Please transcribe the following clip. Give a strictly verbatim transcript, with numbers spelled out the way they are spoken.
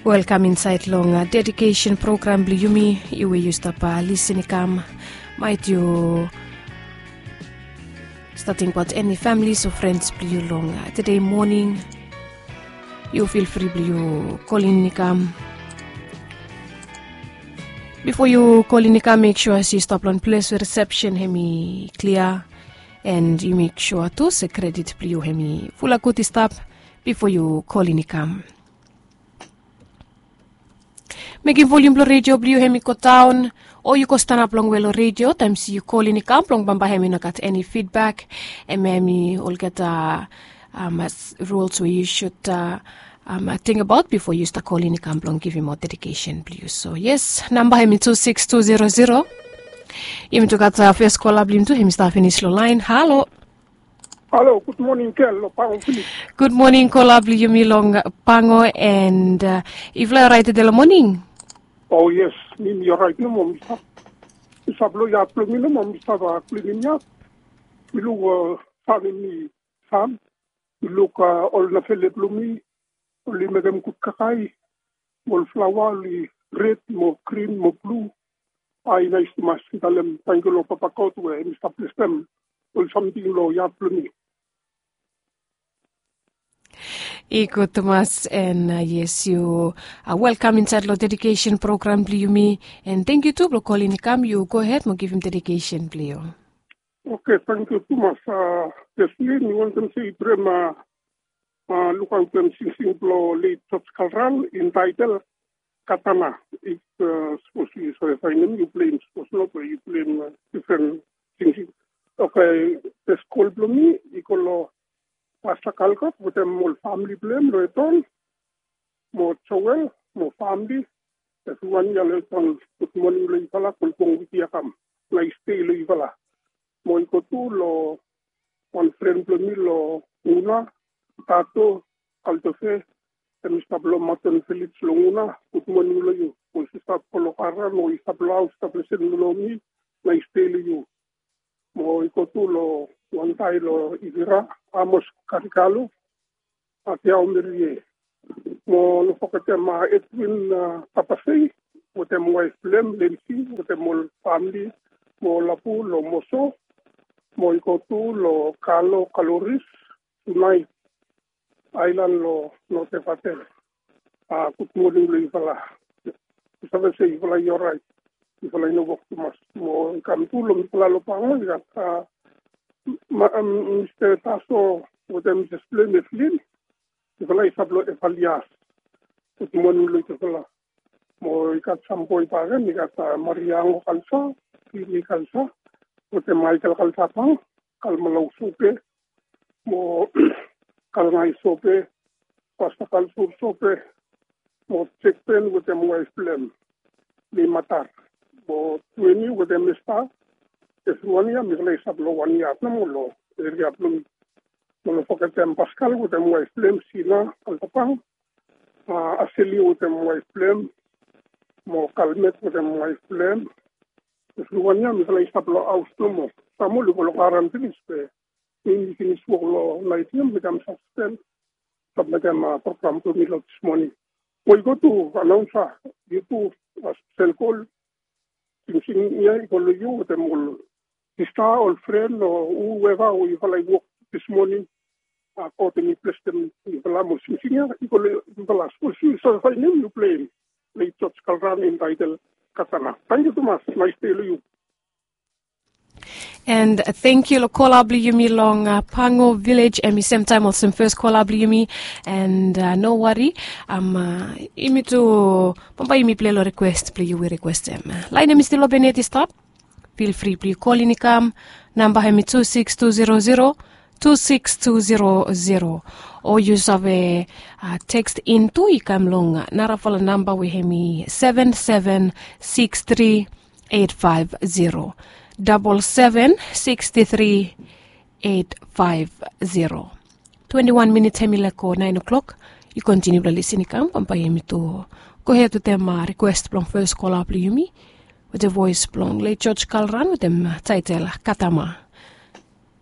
Welkam insaed long dedikesen program blong yumi. Yu we yu stap lisin i kam, maet yu stap tingbaot eni familis o frens blong yu long tede moning, yu fil fri blong yu kolin i kam. Bifo yu kolin i kam, mek sua se yu stap long ples we risepsen hem i klia, and yu mek sua tu se kredit blong yu hem i fulap gud i stap bifo yu kolin i kam. Mekem volium blong redio blong yu hem i go daon, o yu go stanap longwe long redio taem se yu kolin i kam blong bambae hem i no gat eni fidbak. Hem hem i olgeta ruls we yu sud tingbaot bifo yu stap kolin i kam blong givim ol dedikesen blong yu. So yes, namba hem i tu siks tu zero zero. Yumi tu gat fes kola blong yumi tu hem i stap finis long laen. Halo. Halo, gud moning gel long Pango Vilej. Gud moning kola blong yumi long Pango, and yufala i oraet tede long moning? O yes, mi mi oraet nomo. Mi stap, mi stap long yad blong mi nomo, mi stap klinim yad. Mi luk san hem i san. Mi luk ol nafele blong mi oli mekem gud kakae. Mo ol flaoa oli red mo grin mo blu. Bae i nais tumas. Mi talem tangkiu long Papa God we hem i stap blesem ol samting long yad blong mi. I gud tumas, and yes, yu welkam insaed long dedikesen program blong yumi. And tangkiu tu blong kolin i kam. Yu gohed mo givim dedikesen blong yu. Oke, tangkiu tumas. Yes, mi wantem se i brema lukaotem singsing blong leit George Kalran, intaetel Katana. If sapos yu save faenem, yu pleim. Sapos no, be yu pleim difren singsing. Oke, fes kol blong mi i go long Pasta Kalkot wetem ol famili blong hem long Eton, mo Joel mo famili. Evriwan ya long Eton, gud moning long yufala. Kolbong wik ya kam. Nais dei long yufala. Mo i go tu long wan fren blong mi long Nguna, Tato Kaltofe. Hem i stap long Maton Vilej long Nguna. Gud moning long yu. Mo yu stap go long kara, mo yu stap long haos, stap lisin long mi. Nais dei long yu. Mo i go tu long wantae long Ivira, Amos Karikalo, Atiao Merie. Mo no fogetem Edwin Tapasei wetem waef blong hem Lensi wetem ol famili, mo Lapu long Moso. Mo i go tu long Kalo Kaloris, tunaet aelan long North Evatel. Gud moning long yufala. Yu save se yufala i oraet. Yufala i no wok tumas. Mo i kam tu long mifala long Pango, i gat Mista Taso wetem Misses blong hem Evelyn. Yufala i stap long Evalias. Gud moning long yufala. Mo i gat sam boe bakegen, i gat Maria Ango Kalsa, Lili Kalsa wetem Michael Kalsapang, Kalmalau Sope, mo Kalngai Sope, Pasta Kalsur Sope, mo Jekpen wetem waef blong hem Lei Matar, mo Tueni wetem Esta. Evriwan ya mifala i stap long wan yad nomo long eria blong mi. Mo no fogetem Paskal wetem waef blong hem Sina Kaltapang, Aseli wetem waef blong hem, mo Kalmet wetem waef blong hem. Evriwan ya mifala i stap long haos nomo. Sam oli go long kara finis, be mi mi finis wok long naet ya, mi kam saspen, stap mekem program blong mi long dis moning. Mo i go tu, anaonsa, yu tu, spesel kol, singsing ya i go long yu wetem ol sista, ol fren, o whoever we yufala i wok dis moning. God hem i blesem yufala, mo singsing ya i go long yufala. Sapos yu save faenem, yu pleim. Leit George Kalran, intaetel Katana. Tangkiu tumas. Nais dei long yu. And tangkiu long kola blong yumi long Pango Vilej, hem i semtaem olsem fes kola blong yumi. And no wari, yumi tu bambae yumi pilei long rikwes blong yu we rikwestem. Laen hem i stil open yet i stap. Fil fri blong yu kolin i kam. Namba hem i tu siks tu zero zero, tu siks tu zero zero. O yu save teks in tu, i kam long narafala namba we hem i seven seven six three eight five zero, double seven six three eight five zero. Twenti wan minits hem i laek go naen o'klok. Yu kontiniu blong lisin i kam, bambae yumi tu gohed wetem rikwes blong fes kola blong yumi wetem voes blong Lei George Kalran wetem taetel Katama.